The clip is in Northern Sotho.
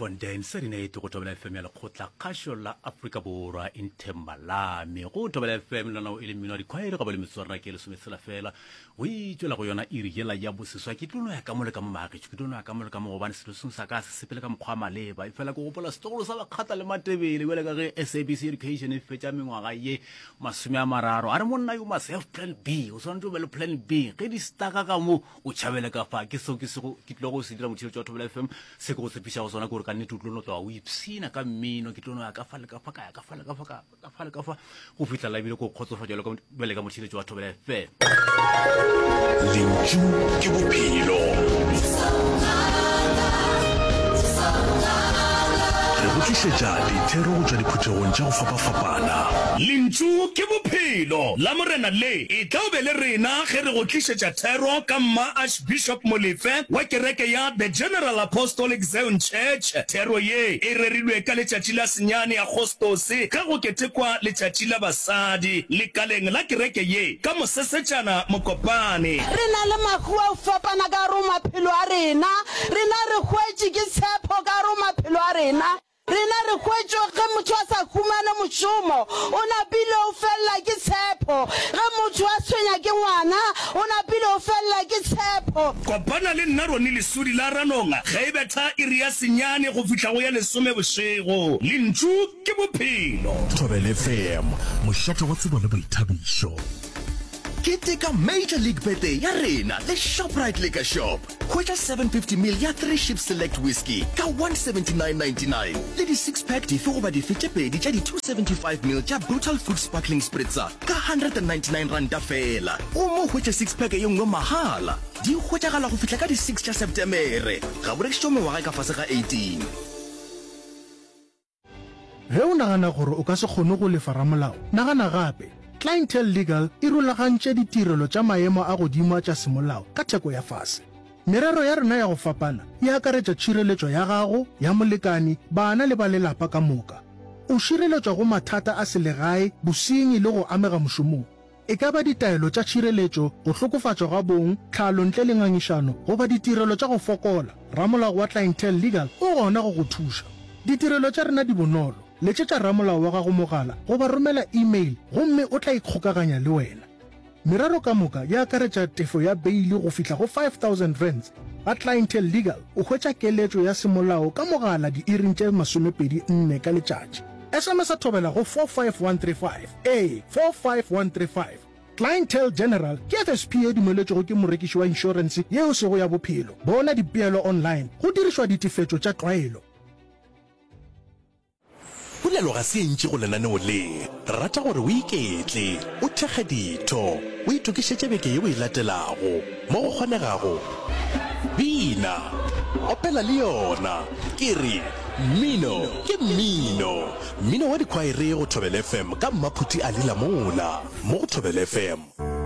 Bloemfontein Serenade go Thobela FM ya lekgotla kgašo la Afrika Borwa Inthembalame go Thobela FM lona e le mmino wa dikhwaere ga ba le metsotso rena ke lesometshela fela go itšwela go yona iri yela ya boseswa ke tlo no ya ka mo le ka mo maagetšo ke tlo no ya ka mo le ka mo gobane selo sengwe sa ka se sepele ka mokgwa wa maleba e fela ke gopola setlogolo sa bakgatla le matebele bjale ka ge SABC Education e fetša mengwaga ye masome a mararo a re monna you must have plan B o swanetše o be le plan B ge di staka ka mo O tšhabele ka fa, ke seo ke sego ke tlilego go se dira motheeletši wa Thobela FM. Se ke go tshepišago sona ke gore ka nnete o tlo no tloga o ipshina ka mmino. Ke tlo no ya ka fa le ka fa, ka ya ka fa le ka fa, ka ka fa le ka fa, go fihla la ebile ke go kgotsofatša bjalo ka bjale ka motheeletši wa Thobela FM. Lentšu ke bophelo. Re go tlišetša dithero go tšwa diphuthegong tša go fapafapana. Lentšu ke bophelo. Lamorena le etla o be le rena ge re go tlišetša thero ka Mma Archbishop Molefe wa kereke ya The General Apostolic Zion Church. Thero ye e rerilwe ka letšatši la senyane Agostose ge go ketekwa letšatši la basadi lekaleng la kereke ye ka Mosesetšana Mokopane. Re na le mahu a go fapana ka gare go maphelo a rena. Rena re hwetše ke tshepo ka gare go maphelo a rena. Rena re hwetšwe ge motho a sa humane mošomo, o napile o felela ke tshepo. Ge motho a tshwenya ke ngwana, o napile o felela ke tshepo. Kopana le nna Ronnie Lesudi la Ranong ge e betha iri ya senyane go fihla go ya lesome bošego. Lentšu ke bophelo. Thobela FM, mošate wa tsebo le boithabišo. Keteka Major League Birthday ya rena le Shoprite Liquor Shop. Hwetša 750 ml ya Three Ships Select Whisky ka 179.99 le di six pack dife goba dife tše pedi tša di 275 ml tša Brutal Fruit Sparkling Spritzer ka 199 ranta feela. Gomme o hwetše six pack ye nngwe mahala. Di hwetšagala go fihla ka di six tša Setemere. Ga bo rekišetšwe mengwaga e ka fase ga 18. Ge o nagana gore o ka se kgone go lefa ramolao, nagana gape. Clientele Legal e rulagantše ditirelo tša maemo a godimo tša semolao ka theko ya fase. Merero ya rena ya go fapana e akaretša tšhireletšo ya gago, ya molekani, bana le ba lelapa ka moka. O šireletšwa go mathata a selegae, bosenyi le go amega mošomong. E ka ba ditaelo tša tšhireletšo, go hlokofatšwa ga bong, tlhalo ntle le ngangišano, goba ditirelo tša go fokola, ramolao wa Clientele Legal o gona go go thuša. Ditirelo tša rena di bonolo, letšetša ramolao wa gago mogala goba romela e-mail gomme o tla ikgokaganya le wena. Merero ka moka e akaretša tefo ya beili go fihla go R5000. Ga Clientele Legal o hwetša keletšo ya semolao ka mogala diiring tše 24 ka letšatši. SMS-a thobela go 45135. Ee, 45135. Clientele General ke FSP ye dumeletšwego ke morekiši wa inšorense yeo e sego ya bophelo. Bona dipeelo online go dirišwa ditefetšo tša tlwaelo. Polelo ga se e ntši go lenaneo le. Re rata gore o iketle, o thekge ditho, o itokišetše beke yeo e latelago. Mo go kgonegago, bina, opela le yona. Ke re, mmino ke mmino. Mmino wa dikhwaere go Thobela FM ka Mmaphuti Ali Lamola mo go Thobela FM.